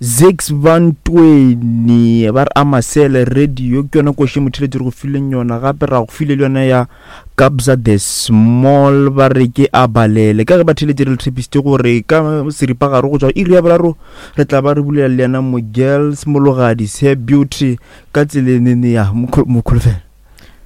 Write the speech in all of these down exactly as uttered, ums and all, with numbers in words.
Zix Bantweni ba re Amasele Radio ke yona koši motheletši re go fileng yona, gape ra go file le yona ya Kabza the Small ba re ke a balele. Ka ge batheletši re le tshepišitše gore ka seripagare go tšwa iri ya boraro re tla ba re bulela le yena Mogirls Mologadi Hair Beauty ka tselenene ya mokholofelo.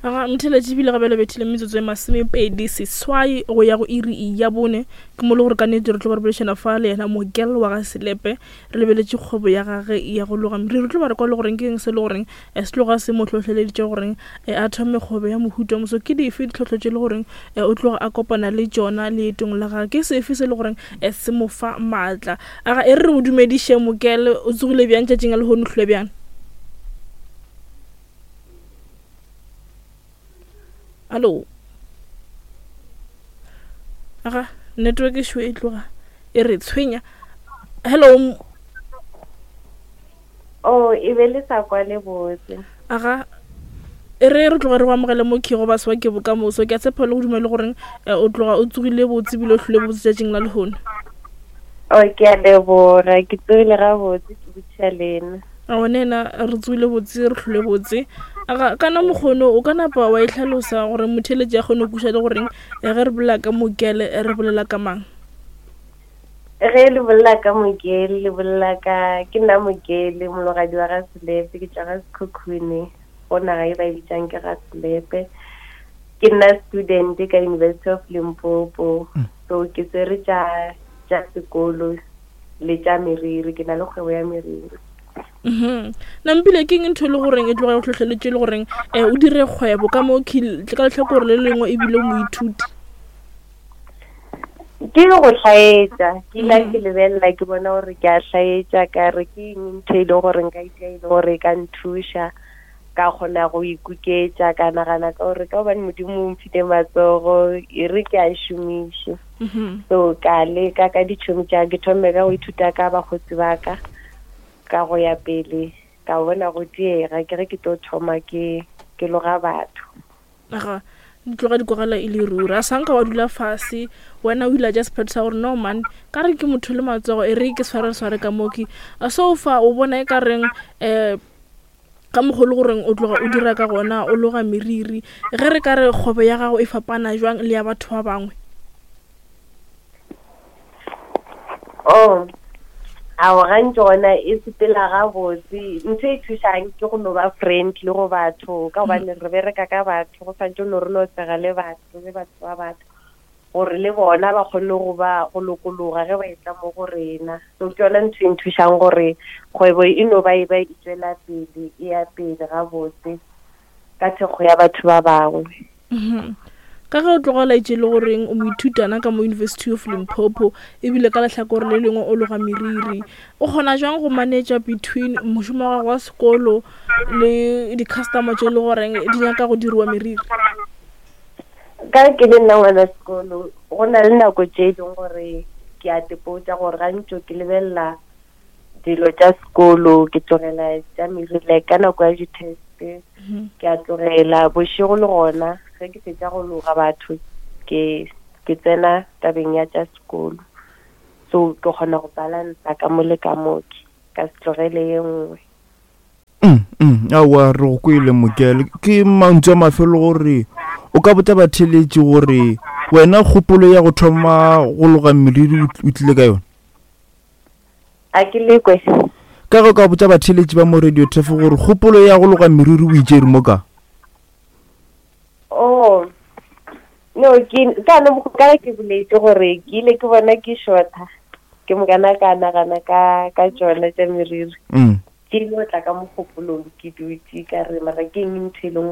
Aga motheletši ebile gape le bethile metsotso e masomepedi seswai go ya go iri ya bone, ke mo le gore ka nnete re tlo ba re boledišana fa le yena Mogel wa ga Selepe, re lebeletše kgwebo ya gage ya go loga meriri. Re tlo ba re kwa le goreng ke eng se le goreng se tloga se mo hlohleleditše goreng a thome kgwebo ya mohuta mo. So ke dife ditlhohlo tše le goreng o tloga a kopana le tšona leetong la gage, ke sefe se le goreng se mo fa maatla. Aga e re re go dumediše Mogel, o tsogile bjang tšatšing la lehono, o hlole bjang? Hallo. Aga network e šwe e tloga e re tshwenya. Hello. Oh, e be le sa kwa le botse. Aga e re re tloga re go amogele mo ke go ba swa ke bokamoso. Ke a tshepa le go dumela goreng o tloga o tsogile botse ebile o hlole botse tšatšing la lehono. Oh, ke a leboga, ke tsogile gabotse, ke botšiša lena. A wena re tsogile botse, re hlole botse. Aga kana mokgono o ka napa wa e hlalosa gore motheletši a kgone go kweša le goreng ge re bolela ka Mogel re bolela ka mang? Ge le bolela ka Mogel le bolela ka, ke nna Mogel Mologadi wa ga Selepe, ke tšwa ga Sekhukhune, go naga e ba e bitsang ke ga Selepe. Ke nna student ka University of Limpopo. So ke tsere tša tša sekolo le tša meriri, ke na le kgwebo ya meriri. Mhm. Nampile ke eng ntho e le goreng e tloga e go hlohleletše le goreng um o dire kgwebo ka mo ka lehlakore le lengwe ebile o moithuti? Ke go hlaetša, ke ile ke lebelela ke bona gore ke a hlaetša, ka re ke eng ntho e leng gore nka e e le gore e ka nthuša, ka kgona go ikuketša, ka nagana ka gore ka gobane Modimo o mphile matsogo e re ke a šomiše. So ka leka ka ditšhomi tša ke thome ka go ithuta ka bakgotsi ba ka, ka go ya pele ka bona go diega ke ge ke tlo thoma ke ke loga batho. Aga di tloga di kwagala e le ruri, a sanka wa dula fase wena o ile a ja sephetho sa gore no man ka re ke motho le matsogo e re ke sware sware ka moki. So fa o bona e ka reng um ka mokgwa le goreng o tloga o dira ka gona o loga meriri, ge re ka re kgwebo ya gago e fapana jwang le ya batho ba bangwe? Oh, ao gantši gona e sepela gabotse. Ntho e thušang ke go no ba friendly go batho, ka gobane re bereka ka batho, go santse no re no sega le batho, le batho ba batho gore le bona ba kgone go ba go lokologa ge ba etla mo go rena. So ke yona ntho e nthušang gore kgwebo e no ba e ba e tswela pele, e ya pele gabotse ka thekgo ya batho ba bangwe. Mhm. Ka ge o tloga laetše le goreng o moithutana ka mo University of Limpopo ebile ka lehlakore le lengwe o loga meriri, o kgona jwang go manage between mošomo wa gago wa sekolo le di-customer tše le goreng di nyaka go diriwa meriri? Ka ke le nna ngwana sekolo, go na le nako tše e leng gore ke a tepotša gore gantši ke lebelela dilo tša sekolo, ke tlogela tša meriri like ka nako ya di-test ke a tlogela. Bošego le gona ge ke fetša go loga batho ke ke tsena tabeng ya tša sekolo. So ke kgona go balansa ka mo le ka mo, ka se tlogele ye nngwe. Mm, mm, aowa re go kwele Mogel. Ke mantšu a mafelo gore o ka botša batheletši gore wena kgopolo ya go thoma go loga meriri o tlile ka yona? A ke lekwe. Ka ge o ka botša batheletši ba mo Radio Turf gore kgopolo ya go loga meriri o itšere mo ka? Oh, no, ke ka no ka ke boletše gore ke ile ke bona ke shorta, ke mokana ka nagana ka ka tšona tša meriri. Mm. Ke ile go tla ka mogopolong ke dutše ka re mara ke eng ntho e leng